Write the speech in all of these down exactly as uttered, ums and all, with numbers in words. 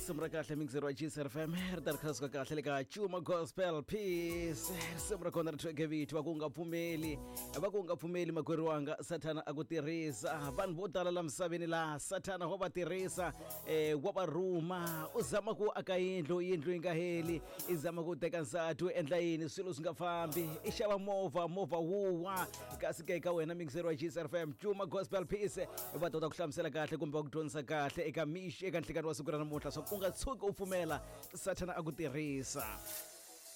Risimu ra kahle mixer wa G C F M ri ta ri khasuka kahle le ka Chuma Gospel Peace. Risimu ra kona ri thweke vito va ku nga pfumeli, va ku nga pfumeli makwerhu wanga, Sathana a ku tirhisa. Vanhu vo tala la misaveni laha Sathana wa va tirhisa, eh wa va rhuma, u zama ku aka yindlu, yindlu yi nga heli, i zama ku teka nsati u endla yini swilo swi nga fambi, i xava movha, movha wuwa. Kasi ke ka wena mixer wa G C F M Chuma Gospel Peace va ta ku hlamusela kahle kumbe va ku dyondzisa kahle eka mixi eka nhlikani wa siku ra namuntlha swa ku u nga tshuki u pfumela Sathana a ku tirhisa.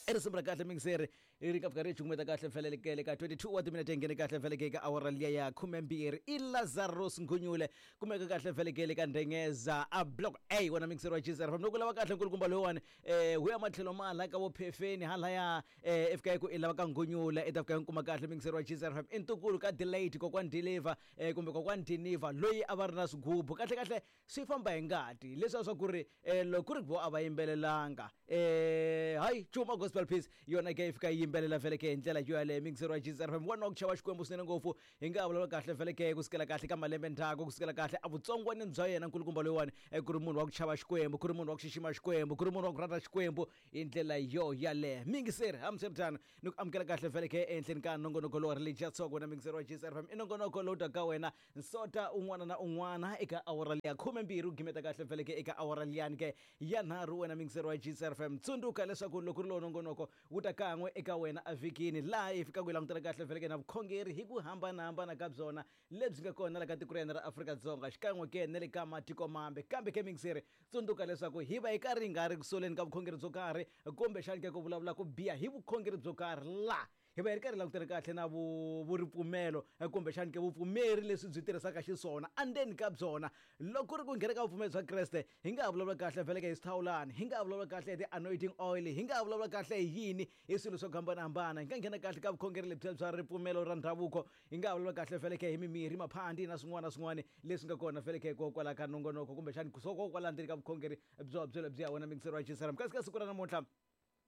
I risimu ra kahle mixer ri nga fika ri cukumeta kahle mfelelekele ka twenty-two wa timinete nghene kahle mfeleke ka awara liya ya khumembirhi. I Lazarus Ngunyule kumeka kahle mfelekele ka Ndengeza a block A wona mixer wa G C F M. Loko lava kahle nkulukumba loyiwani eh hu ya matlhelo ma la ka vo phefeni halaya eh fika ku i lava ka Ngunyule i ta fika kuma kahle mixer wa G C F M. I ntukulu ka delayed kokwani deliver eh kumbe kokwani deliver loyi a va ri na swigubu kahle kahle swi famba hi ngati leswi swa ku ri eh loko ku ri vo a va yimbelelanga eh hayi Chuma Gospel Peace yona ke fika yimbelela vele ke hi ndlela yo yaleyo mixer wa G C F M. Wa ku chava Xikwembu swinene ngopfu hi nga vulavula kahle vele ke kusukela kahle ka malembe ndzhaku kusukela kahle a vutsongwanini bya yena nkulukumba loyiwani ku ri munhu wa ku chava Xikwembu, ku ri munhu wa ku xixima Xikwembu, ku ri munhu wa ku rhandza Xikwembu hi ndlela yo yaleyo. Mixer hambiswiritano ni ku amukela kahle vele ke ehenhleni ka nongonoko lowu Religious Talk wena mixer wa G C F M. I nongonoko lowu taka wena nsota un'wana na un'wana eka awara liya khumembirhi u gimeta kahle vele ke eka awara liyani ke ya nharhu wena mixer wa G C F M. Tsundzuka leswaku loko ri lowu nongonoko wu ta kan'we eka wena evhikini laha hi fikaka hi langutela kahle vele ke na vukhongeri hi ku hambanahambana ka byona lebyi nga kona la ka tiko ra hina ra Afrika-Dzonga xikan'we ke na le ka matiko mambe. Kambe ke mixer tsundzuka leswaku hi va hi karhi hi nga ri kusoleni ka vukhongeri byo karhi kumbexani ke ku vulavula ku biha hi vukhongeri byo karhi la hi va hi ri karhi langutela kahle na vuripfumelo kumbexani ke vupfumeri leswi byi tirhisaka xiswona endzeni ka byona. Loko ku ri ku nghena ka vupfumeri bya Kreste hi nga ha vulavula kahle vele ke hi swithawulani, hi nga ha vulavula kahle hi ti-anointing oil, hi nga ha vulavula kahle hi yini hi swilo swo hambanahambana. Hi nga nghena kahle ka vukhongeri lebyiya bya ripfumelo ra ndhavuko, hi nga ha vulavula kahle vele ke hi mimirhi, maphandi na swin'wana na swin'wana leswi nga kona vele ke kokwala ka nongonoko kumbexani kokwala ndzeni ka vukhongeri byo byo lebyiya wena mixer wa G C F M. Kasi ka siku ra namuntlha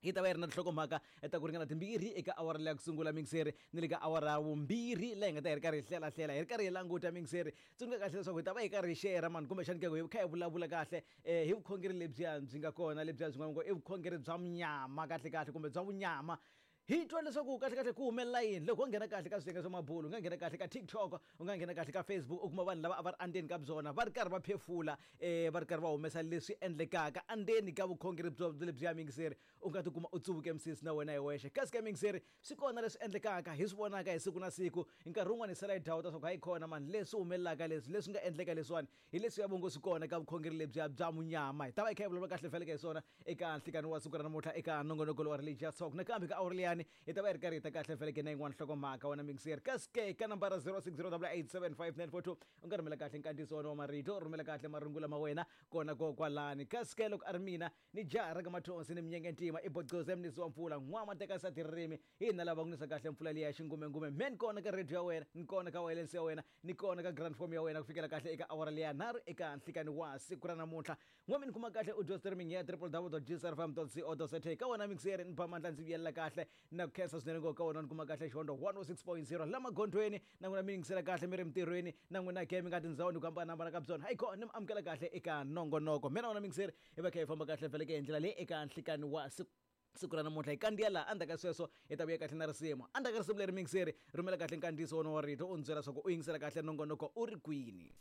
hi ta va hi ri na tinhlokomhaka ta ku ringana timbirhi eka awara leya ku sungula mixer ni le ka awara ya vumbirhi laha hi nga ta hi ri karhi hi hlelahlela hi ri karhi hi languta mixer. Tsundzuka kahle leswaku hi ta va hi karhi hi share mani kumbexani ke hi kha hi vulavula kahle eh hi vukhongeri lebyiya byi nga kona lebyiya byi nga i vukhongeri bya munyama kahle kahle kumbe bya vunyama. Hi twa leswaku kahle kahle ku humelela yini loko u nghena kahle ka swiyenge swa mabulo, u nga nghena kahle ka TikTok, u nga nghena kahle ka Facebook, u kuma vanhu lava a va ri endzeni ka byona va ri karhi va phefula eh va ri karhi va humesa leswi endlekaka endzeni ka vukhongeri byo lebyiya mixer. U nga tikuma u tsuvuke misisi na wena hi wexe. Kasi ka mixer swi kona leswi endlekaka hi swi vonaka hi siku na siku, nkarhi wun'wani hi sala hi dawuta swa ku hayi kona mani leswi humelelaka leswi leswi nga endleka leswiwani hi leswi ya vongo swi kona ka vukhongeri lebyiya bya munyama. Hi ta va hi kha hi vulavula kahle feleke hi swona eka nhlikani wa siku ra namuntlha eka nongonoko lowa Religious Talk. Nakambe ka awara liyani hi ta va hi ri karhi hi ta kahle feleke na yin'wana nhlokomhaka wena mixer. Kasi ke ka nambara zero six zero double eight seven five nine four two u nga rhumela kahle nkandziyiso wa marito, rhumela kahle marungula ma wena kona kokwalani. Kasi ke loko a ri mina ni jaha ra ka Mathonsi ni minyenge ntima i Bocoze mnisi wa mpfula n'wama teka sati ririmi hi hina lava ku nisa kahle mpfula liya ya xingumengume. Me ni kona ka radio ya wena, ni kona ka wireless ya wena, ni kona ka grand form ya wena ku fikela kahle eka awara liya nharhu eka nhlikani wa siku ra namuntlha. N'wami ni kuma kahle audio streaming ya w w w dot g c r f m dot co dot za ka wena mixer ni ba mandla ndzi vuyelela kahle na ku khensa swinene ngopfu ka wena ni kuma kahle xihondo one oh six point zero la magondzweni na n'wina mi yingisela kahle mi ri mintirhweni na n'wina ke mi nga tindhawini ku hambanahambana ka byona. Hayi kona ni mi amukela kahle eka nongonoko. Mina wena mixer hi va kha hi famba kahle vele ke hi ndlela leyi eka nhlikani wa siku siku ra namuntlha. Hi kandziya laha endzhaku ka sweswo hi ta vuya kahle na risimu. Endzhaku ka risimu leri mixer rhumela kahle nkandziyiso wona wa rito u ndzi byela leswaku u yingisela kahle nongonoko u ri kwini.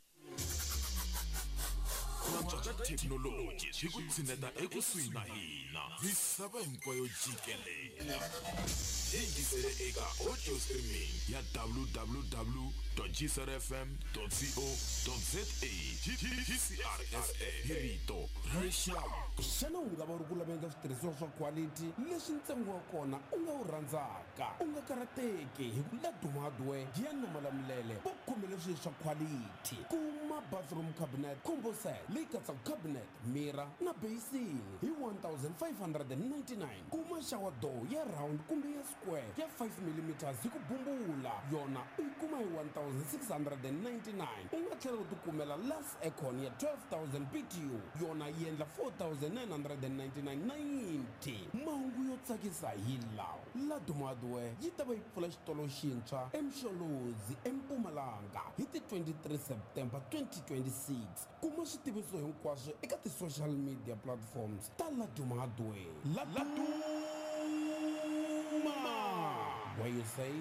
Ku antswa ka thekinoloji swi ku tshineta ekusuhi na hina misava hinkwayo jikelela. Yingisele eka audio streaming ya w w w dot g c r f m dot co dot za. G C R F M hi rito ra rixaka. Xana u nga va u ri ku laveni ka switirhisiwa swa quality leswi ntsengo wa kona u nga wu rhandzaka? U nga karhateki hi ku Laduma Hardware ya Namalamulele va khomele swilo swa quality. Kuma bathroom cabinet combo set leyi katsaka cabinet, mirror na basin hi one thousand five hundred and ninety-nine. Kuma shower door ya round kumbe ya square ya five millimeters hi ku bumbula yona u yi kuma hi one thousand six hundred and ninety-nine. U nga tlhela u tikumela last aircon ya twelve thousand B T U yona yi endla four thousand nine hundred and ninety-nine ninety. Mahungu yo tsakisa hi lawa: Laduma Hardware yi ta va yi pfula xitolo xintshwa eMsholozi eMpumalanga hi ti twenty-three September twenty twenty-six. Kuma switiviso Swinkombiso hinkwaswo eka ti-social media platforms ta Laduma Hardware. Laduma, where you save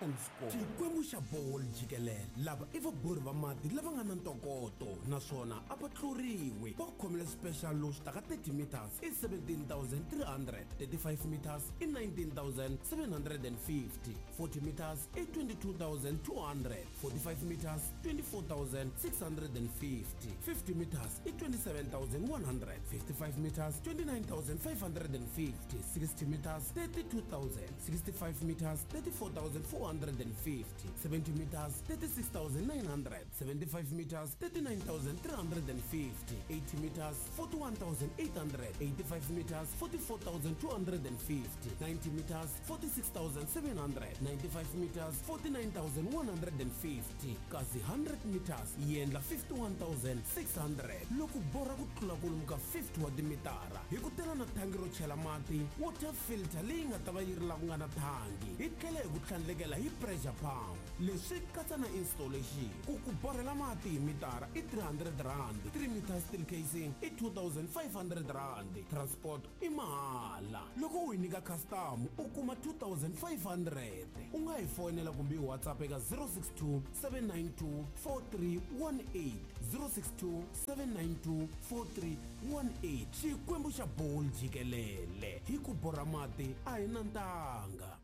and score. Xikwembu xa bolo jikelele, lava i vabori va mati lava nga na ntokoto naswona a va tluriwi. Va khomele special lowu swi taka thirty meters i seventeen thousand three hundred, thirty-five meters i nineteen thousand seven hundred and fifty, forty meters i twenty-two thousand two hundred, forty-five meters twenty-four thousand six hundred and fifty, fifty meters i twenty-seven thousand one hundred, fifty-five meters twenty-nine thousand five hundred and fifty, sixty meters thirty-two thousand, sixty-five meters thirty-four thousand four hundred and fifty, seventy meters thirty-six thousand nine hundred, seventy-five meters thirty-nine thousand three hundred and fifty, eighty meters forty-one thousand eight hundred, eighty-five meters forty-four thousand two hundred and fifty, ninety meters forty-six thousand seven hundred, ninety-five meters forty-nine thousand one hundred and fifty, kasi hundred meters yi endla fifty-one thousand six hundred. Loko borha ku tlula kwalomu ka fifty wa timitara hi ku tela na thangi ro chela mati, water filter leyi nga ta va yi ri la ku nga na thangi, hi tlhela hi ku tlhandlekela hi pressure pump. Leswi katsa na installation. Ku ku borhela mati hi mitara i three hundred rand, three meters steel casing i two thousand five hundred rand, transport i mahala. Loko u yi nyika customer u kuma two thousand five hundred. U nga hi fonela kumbe hi WhatsApp eka zero six two seven nine two four three one eight, zero six two seven nine two four three one eight. Xikwembu xa bolo jikelele, hi ku borha mati a hi na ntanga.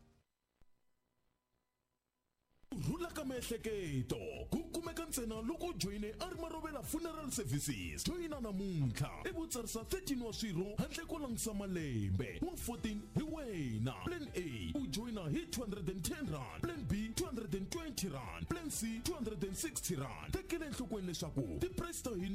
Rhula ka miehleketo ku kumeka ntsena loko u joyine a ri Marovela Funeral Services. Joyina namuntlha i vutsarisa thirteen wa swirho handle ko langutisa malembe, wa fourteen hi wena. Plan A u joyina hi two hundred and ten rand, Plan B two hundred and twenty rand, Plan C two hundred and sixty rand. Tekela enhlokweni leswaku ti-price ta hina